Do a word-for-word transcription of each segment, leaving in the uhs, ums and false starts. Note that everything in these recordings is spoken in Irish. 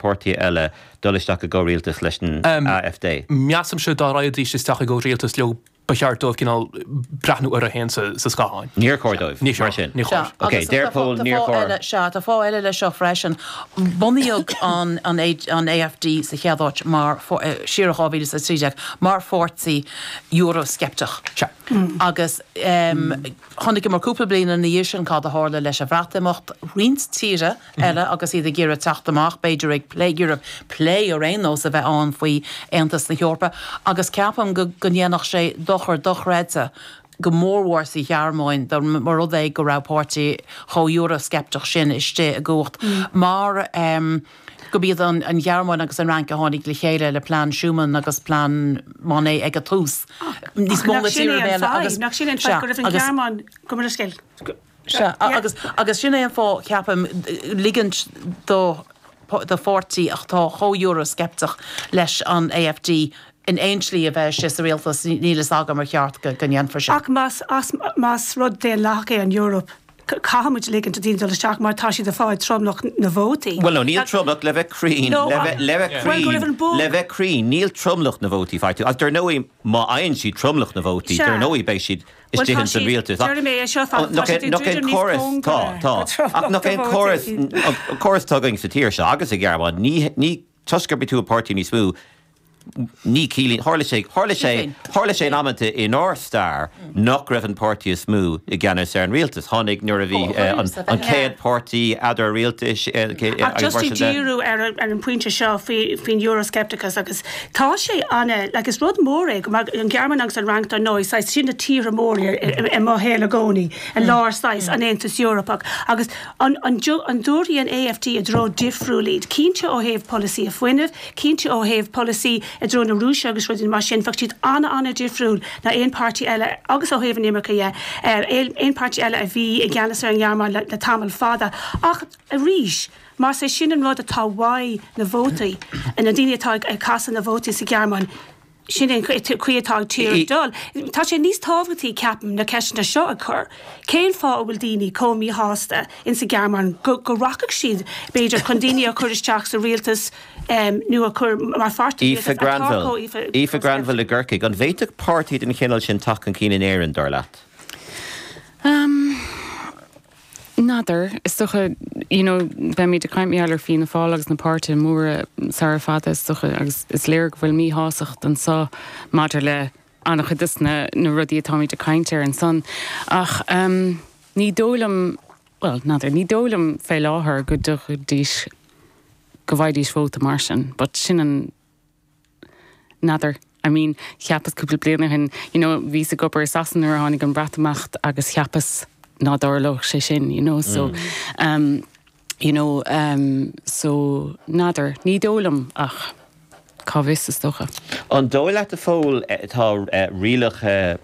páirtithe eile dul isteach i gcomhrialtas leis an A F D? Measaimse dá raghaidís isteach i gcomhrialtas leo, ba cheart dóibh cineál breathnú orthu féin sa sa scáthán. Níor chóir dóibh. Ní mar sin. Ní chóir. Ok, deir Pól níor chóir. Sea, tá fáth eile leis seo freisin. Bunaíodh an an an A F D sa chéad áit mar siar dhá mhíle a trí déag mar pháirtí Eurosceptic. Sea. Agus um, chonaic mar cúpla bliain ina dhiaidh sin cad a tharla leis an Bhreatimeacht roinnt tíortha eile agus iad ag iarraidh teacht amach, b'fhéidir ag plé Europe plé ar aon nós a bheith ann faoi Aontas na hEorpa, agus ceapaim go go ndéanfadh sé dochar dochreidte go mórmhór sa Ghearmáin mar rud é go raibh páirtí chomh Eurosceptic sin istigh i gcumhacht mar um, go b'iad an, an Ghearmáin agus an Fhrainc a tháinig le chéile le plean Schuman agus plean Monnet ag an tús. Níos mó na tíortha eile agus nach sin go raibh an Ghearmáin go mar scéal. Sea, agus agus sin é an fáth ceapaim ligint do do pháirtí atá chomh Eurosceptic leis an A F D in aon slí a bheith sé sa rialtas, níl a fhios agam ar cheart go go ndéanfar sin. Ach más as más rud daonlathach é an Europe, caithfimid ligint do daoine dul isteach mar tá siad ag fáil tromlach na vótaí. Well no, níl tromlach le bheith cruinn No, le bheith le bheith Well, go raibh an cruinn bó- le bheith cruinn, níl tromlach na vótaí faighte. Ach dar ndóigh má fhaigheann siad tromlach na vótaí, Sea. dar ndóigh beidh siad Well, istigh tá in san siad- rialtas. Déarfaidh mé é seo fa- tá Nach siad é- nach é ag druidim níos córas tá cóngaraí tá go tromlach Ach nach na é an córas vótaí. an córas atá againn sa tír seo agus sa Ghearmáin ní ní toisc gurb tú páirtí níos mó ní ciallaíonn tharla sé tharla sé tharla sé in amanta inár stair nach raibh an páirtí is mó i gceannas ar an rialtas tháinig nuair a bhí eh, an an chéad páirtí eadar rialtais eh, Ach agus just mar i sin de. díriú ar ar an pointe seo faoi faoin Euroscepticus agus tá sé ann like is rud mór é go mar an Ghearmáin agus an Fhrainc dar ndóigh saghas sin na tíortha mór i mo shaol i gcónaí an lár saghas an Aontas Eorpach agus an an ju- an dtabharfaidh an A F D i dtreo difriúil iad cinnte ó thaobh polasaí a fuinnimh, cinnte ó thaobh polasaí i dtreo na Rúise agus rudaí mar sin bheadh siad an an-difriúil ná aon páirtí eile agus ó thaobh an imirce dhe aon páirtí eile a bhí i gceannas ar an Ghearmáin le, le tamall fada. Ach arís, Más é sin an rud atá uaidh na vótaí na daoine atá ag caitheamh na vótaí sa Ghearmáin, sin an chaoi atá tír I- dul. Tá sé níos tábhachtaí ceapaim na ceisteanna seo a chur. Cén fáth a bhfuil daoine chomh míshásta in sa Ghearmáin go, go rachaidh siad b'fhéidir chun daoine a chur isteach sa rialtas um, nó a chur mar pháirtí Aoife Granville Aoife Granville i gCorcaigh, an bhféadfadh páirtí den chineál sin teacht chun cinn in Éirinn dar leat. Um, N'fheadar is dócha you know, beimid ag caint ar Fianna Fáil agus na páirtithe móra sara fada is dócha agus is léir go bhfuil míshástacht anseo maidir le an-chuid de na na rudaí atáimid ag caint ar ansan ach um, ní dóigh liom well n'fheadar ní dóigh liom fé láthair go dtugaidís go bhfaighidís vóta mar sin, but sin an n'fheadar. I mean, cheapas cúpla bliain ó shin, you know, bhíos ag obair i Sasana nuair a tháinig an Breatimeacht agus cheapas ná dtarlódh sé sin, you know, so mm. um, you know, um, so n'fheadar ní dóigh liom ach cá bhfios is dócha. An dóigh leat a Phóil tá rialacha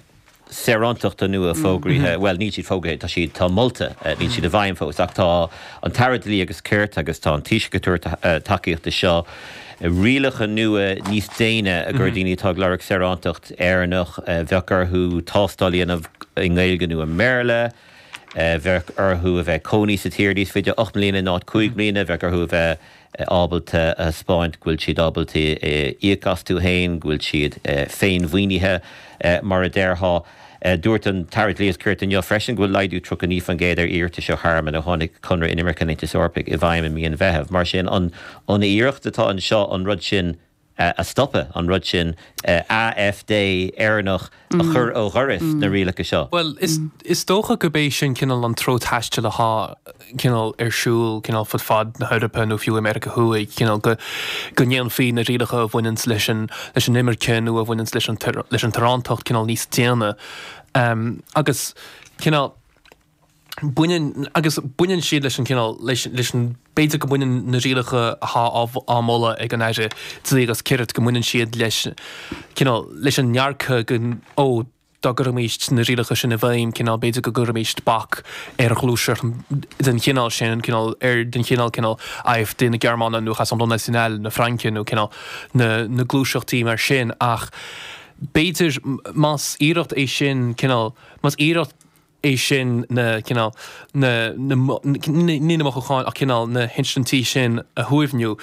saorántachta nua fógraithe, well níl siad fógraithe tá siad tá molta níl siad i bhfeidhm fós ach tá an tAire Dlí agus Cirt agus tá an Taoiseach ag tabhairt tacaíochta seo rialacha nua níos déine a gur daoine atá ag lorg saorántacht Éireannach bheadh orthu tástáil a dhéanamh i nGaeilge nó i mBéarla, bheadh orthu a bheith cónaí sa tír níos faide ocht mbliana ná cúig bliana bheadh orthu a bheith ábalta a thaispeáint go bhfuil siad ábalta íoc astu féin, go bhfuil siad féinmhaoinithe mar a déarfá. Dúirt an tAire Dlí agus Cirt inniu freisin go bhfuil laghdú tríocha naoi faoin gcéad ar iarratais ó thearmann ó tháinig conradh inimirce an Aontais Eorpaigh i bhfeidhm i mí an Mheithimh. Mar sin an an iarracht atá anseo an rud sin a stopadh an rud sin A F D Éireannach a chur ó dhoras na rialacha seo. Well is is dócha go bé sin cineál an treo taistil atá cineál ar siúl cineál fud fad na hEorpa nó fiú America Thuaidh cineál go go ndéanfaí na rialacha a bhaineann leis an leis an imirce nó a bhaineann leis an leis an tsaoránacht cineál níos déine. Um, agus cineál baineann agus baineann siad leis an cineál leis leis an b'fhéidir go mbaineann na rialacha atá á moladh ag an Aire Dlí agus Cirt go mbaineann siad leis cineál leis an ndearcadh go ó dá gcuirfimis na rialacha sin i bhfeidhm cineál b'fhéidir go gcuirfimis bac ar ghluaiseacht den chineál sin cineál ar den chineál cineál A F D na Gearmáine nó Rassemblement National na Fraince nó cineál na na gluaiseachtaí mar sin ach b'fhéidir más iarracht é sin cineál más iarracht é sin na cineál na ní na mothúcháin ach cineál na hinsintí sin a shuaimhniú.